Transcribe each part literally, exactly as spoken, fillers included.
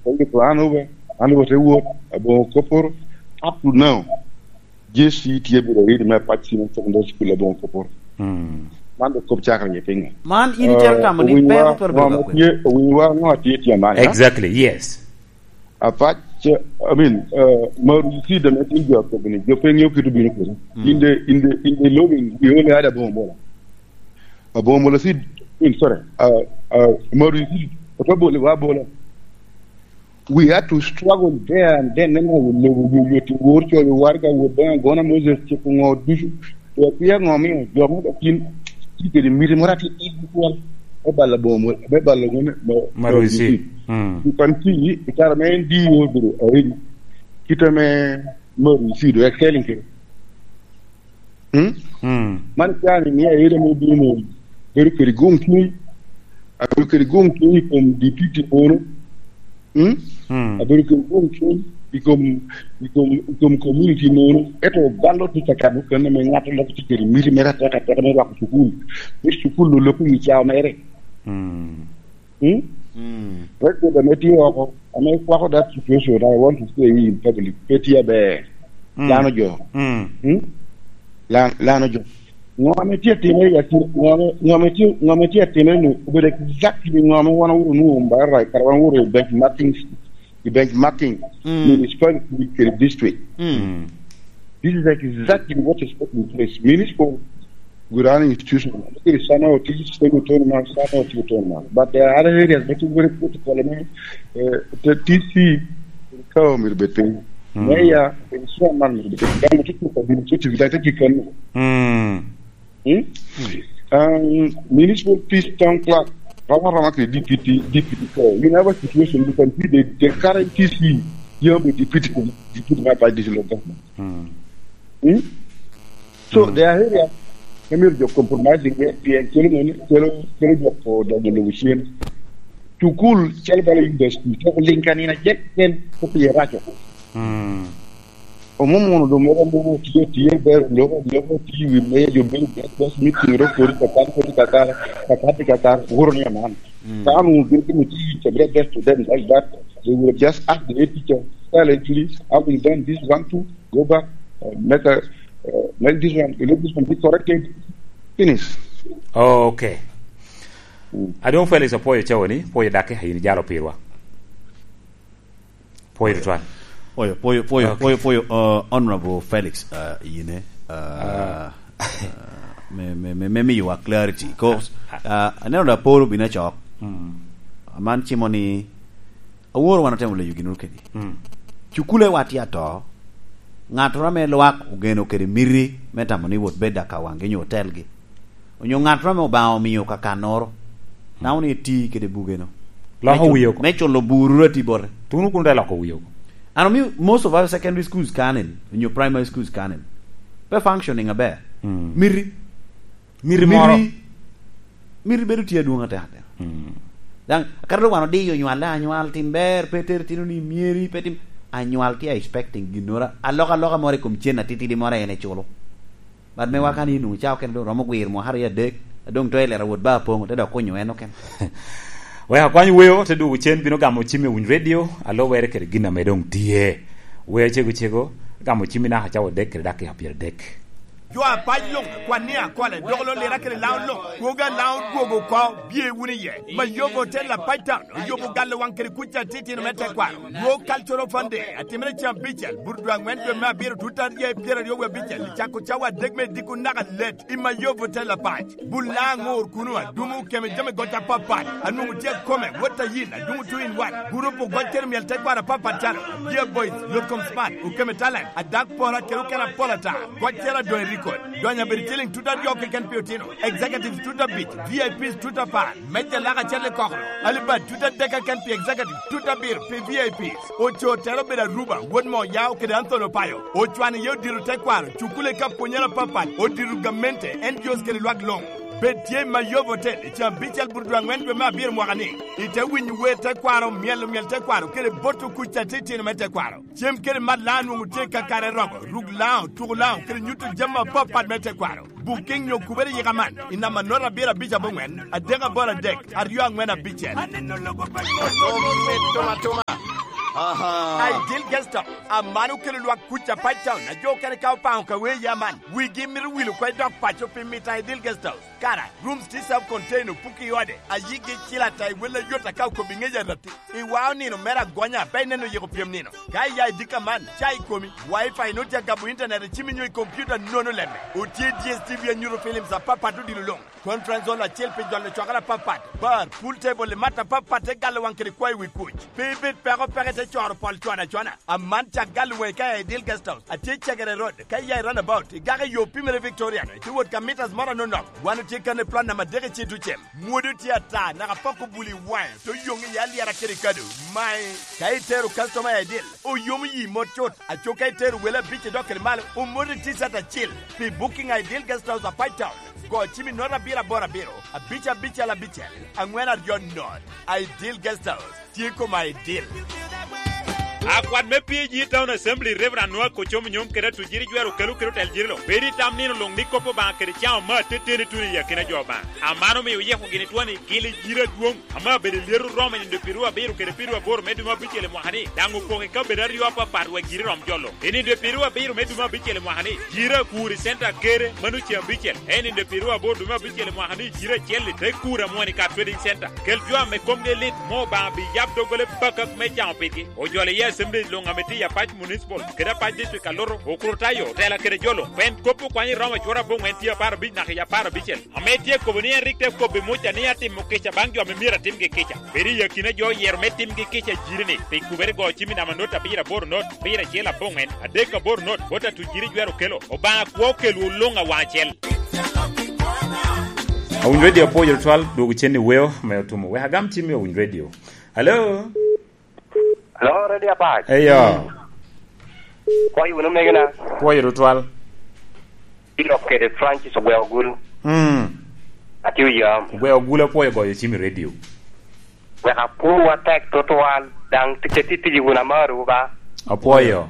Oye ko an obe, an obe te wot, Aboŋo Koporo, up to now. J C tye bedo ready me apac senior secondary school Aboŋo Koporo. Mm. Man dok kop cakere nye pinga. Man in itero tamo ni pe owinyo wa, pe obedo ŋo ka kwe. Tye, owinyo wa, ŋo tye tye man, ha? Exactly, yes. Apac, I mean, uh, Marusi deme tye jo akobo ni, jo pe ŋeo kit obino kede. Mm. In the, in the, in the lobbying, we only had Aboŋo Mola. Aboŋo Mola Cid, I mean, sorry, uh, uh, Marusi Cid, ote bolo wa bola. We had to struggle there and then, then we lobo yo yo ti wor cho yo war ka wor ben gona Moses ti ko ngo ducu. To pia ngo mi jo mo da kin ti kede miri mora ti ti kwal. E balla Aboŋo, e balla gone Marusi. Mm. You can see, i kare me en di wor bro, eh, kita me Marusi do excelling kede. Mm? Mm. Man cani ni aye dong obino bedo kede gum cuny. Abedo kede gum cuny i kom deputy mono. Mm? Mm. Abedo kede gum cuny i kom, i kom, i kom community mono. Ento bal otye ka kabo kene me ŋat lok tye kede miti mere ateka ateka me rwako cukul. Me cukul oloko i cawa mere. Mm. Hmm? Mm. President ame tye oko, ame kwako that situation, I want to say in public, pe tye aber. Mm. Lano jo. Mm. Hmm? Lan-, lano jo. Ŋo ame tye atime i ati-, ŋo ame, ŋo ame tye, ŋo ame tye atime nu, obedo exactly ŋo ame wan owuro nu, ba right, kara wan owuro i benchmarking, i benchmarking, mm, municipality kede district. Mm. Mm. This is exactly what is taking place. Municipal, we run institution. Kede sana oti, state autonomous, sana oti autonomous. But there are other areas that is very critical. I mean, uh, the T C, ka myero bed piny. Mm. Mayor, the chairman myero bed piny. Dano tye ka administrative, dano tye ka. Mm. Hmm? Um, municipal peace town clerk, rama rama kede D P T, D P T. So, you have a situation, you can see the, the current T C, you have a deputy, deputy my party local government. Mm. Hmm? So, mm, there are areas, ame myero jo compromising, eh, pien kelo moni, kelo, kelo jo ko donyo lobo cen. Cukul, calo bala university, to ling ka nino acel ken, ko pye raco. Mm. Omom mono doŋ moko mono tye, tye ber, loko, loko tye wi meja, jo bedo best, best meeting, ro kodi kakar, kodi kakar, kakar, kakar, wuro ni aman. Mm. Ka an wun gin timo tye, it's a great best to them like that. They will just ask the head teacher, silently, having done this one, two, go back, uh, make a, uh, make this one, let this one be corrected. Finish. Okay. Mm. Adwoŋ Felix, apwoyo cawa ni, pwoyo dakke, in ijalo pirwa. Pwoyo tutwal. Pwoyo, pwoyo, pwoyo, okay, pwoyo, pwoyo, uh, Honorable Felix, uh, yine, uh, ah, uh, me, me, me, me miyowa clarity. 'Cause, uh, aneno da Apolo bino acok. Mm. Aman cimo ni, aworo wan atemo leyo gin kedi. Mm. Cukule wa tye ato. Ŋattoro ame lwak ogeno kede miti me tamo ni wot bed akawaŋgi nyo otelgi. Onyo ŋattoro ame Obaŋa omio kakannoro, namo ni eti kede bugeno. Loko wiye oko. Me culo buru ati bote. Tun kun te loko wiye oko. Ano mi most of our secondary schools kanen, onyo primary schools kanen. Pe functioning aber. Mm. Miti. Miti moro. Miti, miti bedo tye adwoŋ atek atek. Mm. Daŋ, akato dok wan odiyo nywal, anywal tim ber, pe ter tino ni myeri, pe tim, anywal tye expecting ginnoro, alok aloka moro i kom cen atitidi moro en eculo. But me waka ni nwoŋo cawa okene doŋ romo gwir mwaka aryo adek, a doŋ to elero wot ba apoŋo, te dok kunyo en okene. Wek akwany weo, te dwogo cen bino gamo cim i Winy Radio, alubere kede gin ame doŋ tye. Weo cego cego, gamo cim i naka cawa odek kede dakika pyeradek. Jo apac luŋ, kwan ni akole, dok lo lira kede laun luŋ, kwoga laun dwogo oko, bye wunu iye. Mayobo te la pac tam. Oyubo galo waŋ kede kuc atitino me tekwaro. Dwo Cultural Fund Day atimere cen abicel, burudwa aŋwen dwe me abiro, tut aryo i pyeraryo wie abicel, i cako cawa adek me diko naka let i Mayobo Tela Pac. Bul na aŋor kuno, adumo okeme jami goc apapat, anwoŋo tye akome, wot a yin, adumo two in one. Gurup ogoc kede myel tekwaro apapat calo, Dear Boys, Yotkom Smart, okeme Talent, Adak Pora kede okene apol ata. Goc cero adoŋ i record. Donyo abedo ciliŋ tut aryo keken pi otino. Executives tut abic, V I Ps tut apar. Meja lak acel i kokoro. Alibad tut adek keken pi executive, tut abiro pi V I Ps. Ocoo tere obedo Aruba, wod Moyao kede Anthony Opayo. Ocwano iye odiro tekwaro, cukule ka pwonyere apapat, odiro gamente, N G Os kede lwak luŋ. Bed tye i Mayobo Hotel i caa abicel buto dwe aŋwen dwe me abiro mwaka ni. Ite winyo wer tekwaro, myelo myel tekwaro, kede boto kuc atitino me tekwaro. Cem kede mat Laŋo nwoŋo tye kakare romo, ruk Laŋo, tuko Laŋo, kede nyuto jami apapat me tekwaro. Booking nyo kubere yika man i namba note abiro abic aboŋwen, adek aboro adek, aryo aŋwen abicel. Aneno logo pa Omito atoma. Aha. Ideal Guest House, aman okelo lwak kuc a Pine Town, a jo okene ka opaŋo ka wee ya man, wigi mito wil oko i dog paco pi mito Ideal Guest House. Kara, rooms tye self-contained, opuko i ode, a yigi cil ata i wel ayot aka okobo i ŋec arati. I wao nino mere agonya, pe ineno yiko pyem nino. Ka iya i dika man, ca i komi, Wi-Fi nut ya gabo internet i cimi nyo i computer nono lemme. Otye D S T V anyuto films apapat odilo luŋ. Conference hall acel pi jolo cwakere apapat, bar, pool table i mat apapat te galo waŋ kede kwayo wi kuc. Pe ibed peko peko ite coro pol cwana cwana. Aman cak galo waŋi ka i Ideal Guest House, atye i Cegere Road, ka iya i roundabout, igako i yo pimere Victoria, ite wot ka meters moro anonok. Wan otye kan i plot namba adek i Citucem. Mwodo tye ata, naka pok obuli waŋe, to yoŋ i alyera kede kado. Mae, ka itero customer i Ideal, oyomo yi mot cut, aco ka itero wele abic idok kede malo, omoti T-shirt acel. Pi booking a Ideal Guest House a Pine Town, go cim i note abiro aboro abiro, abic abicel abicel, aŋwen aryo note. Ideal Guest House, tye koma Ideal. Akwat me P A G Town Assembly, Reverend Noah Kocomo Nyom kede Atujiri Jwero kelo kede otel jiri lo. Bedo i tam nino luŋ ni kop Obaŋa kede caŋ omaa teteni tuno i akina jo Obaŋa. Aman omio oyeko gini twoni gil i jiri adwoŋ. Ame abedo i lyeto romo i nino pyeraryo abiro kede pyeraryo aboro me dwe me abicel i mwaka-ni, daŋ opoko i kabedo aryo apapat wek jiri rom jolo. I nino pyeraryo abiro me dwe me abicel i mwaka-ni, jiri akur i center Kere, mano ce abicel. I nino pyeraryo aboro dwe me abicel i mwaka-ni, jiri acel-li te kur amwon i Car Trading Center. Kel jo ame komgi lit, mo Obaŋa bi yab doggola bakak me caŋo pigi. Ojolo iye Assembly luŋ ame tye i Apac Municipal, kede Apac District Alutu, Okurutayo, Otela kede jo luŋ. Pien kop okwanyo i Roma cwor aboŋwen tye apar abic naka i apar abicel. Ame tye kobo ni en rik te kobbi Muca ni atimo kica baŋ jo ame myero atimgi kica. Bedo i akina jo oyero me timgi kica jiri-ni, pi kubere go cim i namba not abiro aboro not, abiro acel aboŋwen, adek aboro not, bot Atujiri Jwero kelo. Obaŋa kwo okelwu luŋ awaŋ acel. Awiny Radio apwoyo tutwal, dwogo cen i weo me otumo. Wek agam cim i Awiny Radio. Hello? Hello, Radio Apac. Eyo. Pwoyo wunu megina. Pwoyo tutwal. Bino kede Francis Ogweo Gulu. Mm. Atye oyam. Ogweo Gulu apwoyo goyo cim i radio. Wek apwowu atek tutwal, daŋ tic atye tic wunu amarowu ba. Apwoyo.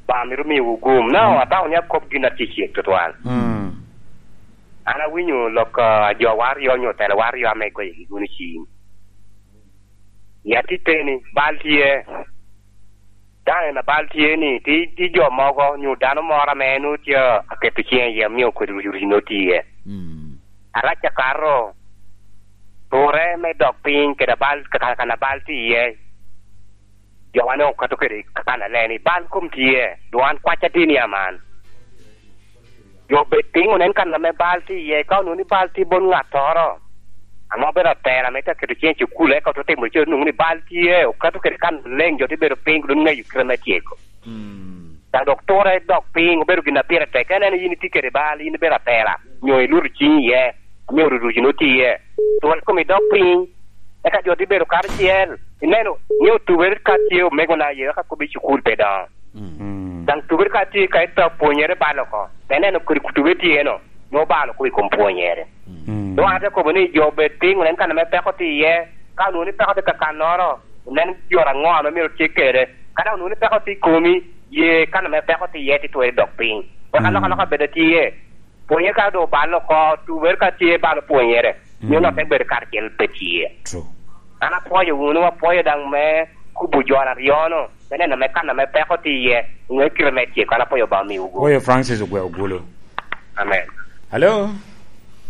Ba mito miyowu gum. Na, mm, atamo ni akop gin atyecek tutwal. Mm. An awinyo lok, ah, a jo waryo onyo otela waryo ame igoyo gi wunu cim. Ya titeni, bal tye. Daŋ en abal tye ni, ti, ti jo mogo, nyo dano moro ame en otye aketo ciŋe iye, omio kodi ruc, ruc no tye. Mm. Arac akato, turre me dok piny kede abal, ka, ka, kan abal tye iye. Jo wane okato kede kan ale ni, bal kom tye, dong an kwacca tye ni aman. Jo bed piny onen kan ame bal tye iye, ka onwoŋo ni bal tye bot ŋattoro, ame obedo atela ame tye aketo ciŋe i cukul, eka ote timo co, onwoŋo ni bal tye, okato kede kan leŋ, jo tye bedo piny, dok ŋeyo kite me tyeko. Mm. Daŋ dok turre dok piny, obedo gin a pire tek. Ka ineno yin itye kede bal, yin ibedo atela, nyo iluto ciŋi iye, ame oruruci nwoŋo tye iye, turre kome dok piny, eka jo tye bedo karacel. Ineno, ni otubere ka tye omegona aye, eka kobbi cukul pe doŋo. Mm. Daŋ tubere ka tye ka ito pwonyere bal oko, te neno kodi tubere tye no, nwoŋo bal oko i kom pwonyere. Mm. Doŋ an ate kobo ni jo bed piny, onen kan ame peko tye iye, ka onwoŋo ni peko tye kakannoro, onen yot aŋo ame myero tye kede. Ka daŋ onwoŋo ni peko tye i komi, ye kan ame peko tye iye tye twero dok piny. Wek, mm, alokaloka bed atye. Pwonye ka doŋ obalo oko, tubere ka tye balo pwonyere, mm, nyo nongo te bedo karacel pe tye. True. An apwoyo wunu, apwoyo daŋ me kubo jo aryo-nu, me neno me kan ame peko tye iye, ŋe kite me tyeko, an apwoyo Obaŋa omiwu gum. Oyo Francis Ogweo Gulu. Amen. Hello?